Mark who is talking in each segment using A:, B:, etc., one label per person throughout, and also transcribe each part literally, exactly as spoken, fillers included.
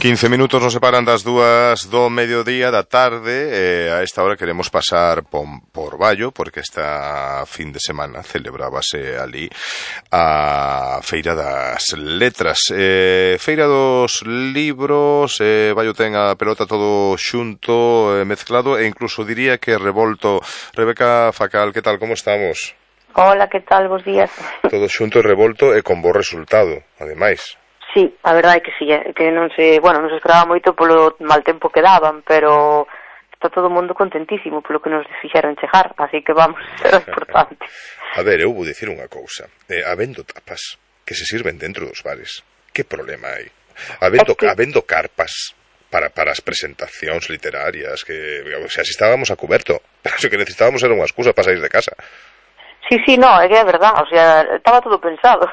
A: quince minutos nos separan das dúas do mediodía da tarde e a esta hora queremos pasar por, por Baio porque esta fin de semana celebrábase ali a Feira das Letras, eh, Feira dos Libros, eh, Baio ten a pelota todo xunto, eh, mezclado e incluso diría que revolto. Rebeca Facal, que tal, como estamos?
B: Hola, que tal, bos días.
A: Todo xunto e revolto e con bo resultado, ademais.
B: Sí, a verdade é que sí, que non se, bueno, non se esperaba moito polo mal tempo que daban, pero está todo o mundo contentísimo polo que nos fixeron chegar, así que vamos, era importante.
A: A ver, eu vou dicir unha cousa, eh, habendo tapas que se sirven dentro dos bares, que problema hai? Habendo, es que... habendo carpas para, para as presentacións literarias, que, o sea, si estábamos a cuberto, pero o que necesitábamos era unha excusa para sair de casa.
B: Sí, sí, no, é que é verdad, o sea, estaba todo pensado.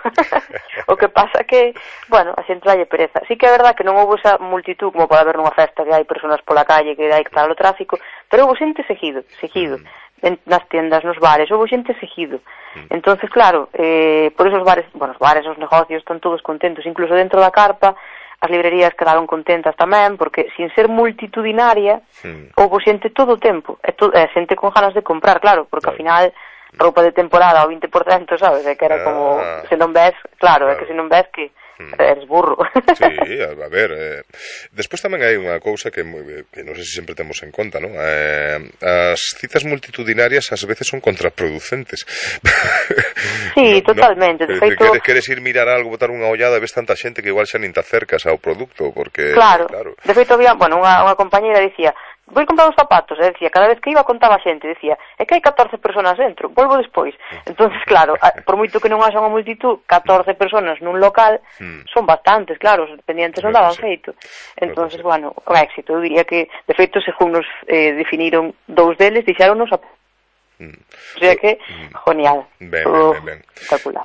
B: O que pasa que, bueno, a xente dalle pereza. Sí que é verdad que non houve esa multitud como pode haber nunha festa que hai personas pola calle, que hai que estar o tráfico, pero houve xente seguido, seguido, mm. en, nas tiendas, nos bares, houve xente seguido. Mm. Entonces, claro, eh, por esos bares, bueno, os bares, os negocios están todos contentos, incluso dentro da carpa, as librerías quedaron contentas tamén, porque sin ser multitudinaria, mm. houve xente todo o tempo, e, to, e xente con ganas de comprar, claro, porque ao final roupa de temporada ao vinte por cento, sabes? É que era como, ah, se non ves, claro, claro, é que se non ves que eres burro.
A: Sí, a ver, eh, despois tamén hai unha cousa que, que non sei se sempre temos en conta, non? Eh, as citas multitudinarias ás veces son contraproducentes.
B: Sí, no, totalmente.
A: No,
B: de feito...
A: queres, queres ir mirar algo, botar unha ollada, ves tanta xente que igual xa nin te acercas ao produto, porque...
B: Claro, claro. De feito había, bueno, unha, unha compañera dicía, vou comprar uns zapatos, e decía, cada vez que iba contaba a xente, decía, é que hai catorce personas dentro, volvo despois. Entonces, claro, por moito que non haxa unha multitud, catorce personas nun local, hmm. son bastantes, claro, os dependientes non daban feito. Entonces, bueno, o éxito, eu diría que, de feito, según nos eh, definiron dous deles, dixéronnos a... O sea que, genial.
A: Ben, ben, ben, ben.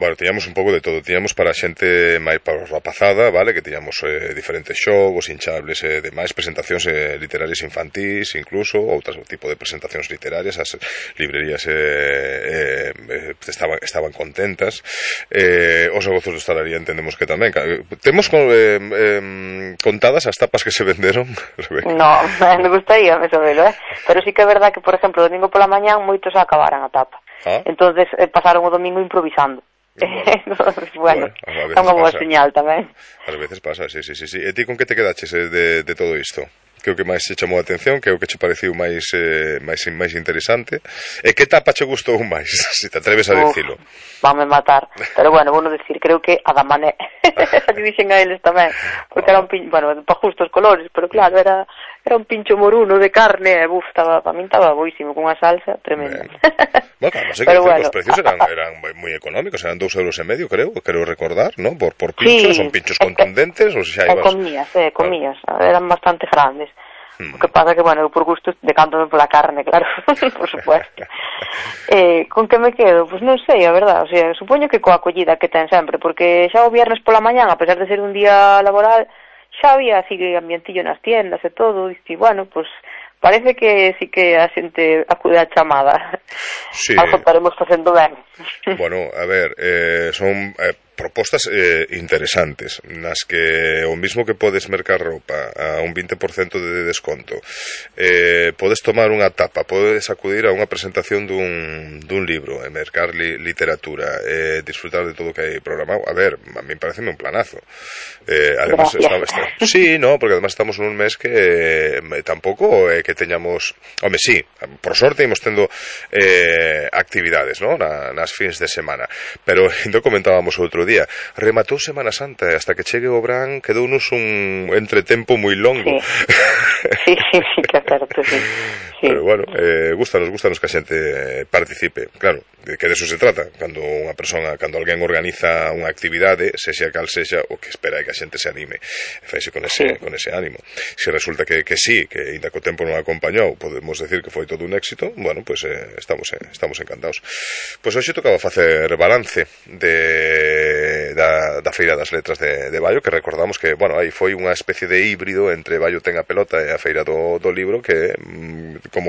A: Bueno, tiñamos un pouco de todo. Tiñamos para a xente máis para a rapazada, vale? Que tiñamos eh, diferentes xogos, hinchables e eh, demais, presentacións eh, literarias infantís, incluso, outro tipo de presentacións literarias. As librerías eh, eh, estaban, estaban contentas. Eh, os negocios de hostalería entendemos que tamén. Temos eh, eh, contadas as tapas que se venderon, Rebeca?
B: No, me gustaría me sabelo, eh? Pero sí que é verdad que, por exemplo, o domingo pola mañán moitos acabaran a tapa. ¿Ah? Entonces eh, pasaron o domingo improvisando. Entonces, bueno, bueno é unha boa señal tamén.
A: Ás veces pasa, sí, sí, sí, sí. E ti con que te quedaches eh, de, de todo isto? Que o que máis se chamou a atención, que o que che pareciu máis eh, máis máis interesante? E que tapa che gustou máis, se te atreves a dicilo?
B: Vame matar, pero bueno, vou non decir, creo que a da Mané. Esa que dixen a eles tamén, porque era un pincho, bueno, para justo os colores, pero claro, era era un pincho moruno de carne, e buf, estaba, para min estaba boísimo, con unha salsa tremenda.
A: Bueno, claro, sei que pero bueno, os precios eran, eran moi económicos, eran dous euros e medio, creo, creo recordar, ¿no? Por, por pinchos, sí, son pinchos contundentes, ou se xa ibas...
B: comías, eh, comías, claro. Eran bastante grandes. Hmm. O que pasa que, bueno, eu por gusto decanto pola carne, claro, por supuesto. eh, con que me quedo? Pois pues non sei, a verdad, o sea, supoño que coa acollida que ten sempre, porque xa o viernes pola mañán, a pesar de ser un día laboral, xa había así ambientillo nas tiendas e todo, e bueno, pois pues, parece que sí que a xente acude a chamada. Sí. Algo estaremos facendo ben.
A: Bueno, a ver, eh, son eh, propostas eh, interesantes, nas que o mismo que podes mercar roupa a un vinte por cento de desconto, eh, podes tomar unha tapa, podes acudir a unha presentación dun, dun libro, e mercar li, literatura, eh, disfrutar de todo o que hai programado. A ver, a mí pareceme un planazo. Eh, además, está, está, sí, no, porque además estamos nun mes que eh, tampouco é eh, que teñamos, home, sí, por sorte imos tendo eh, actividades, ¿no? Na, nas fins de semana, pero ainda comentábamos outro día, rematou Semana Santa e hasta que chegue o Brán quedounos un entretempo moi longo.
B: Sí, sí, sí, que é certo, sí. Sí.
A: Pero bueno, eh, gustanos, gustanos que a xente participe, claro, que de eso se trata, cando unha persona, cando alguén organiza unha actividade, sexa cal sexa, o que espera é que a xente se anime, faise con ese, sí. con ese ánimo. Se resulta que, que sí, que ainda co tempo non acompañou, podemos decir que foi todo un éxito, bueno, pues eh, estamos, eh, estamos encantados. Pois hoxe tocaba facer balance de, da, da Feira das Letras de, de Baio, que recordamos que, bueno, aí foi unha especie de híbrido entre Baio ten a pelota e a Feira do, do libro, que como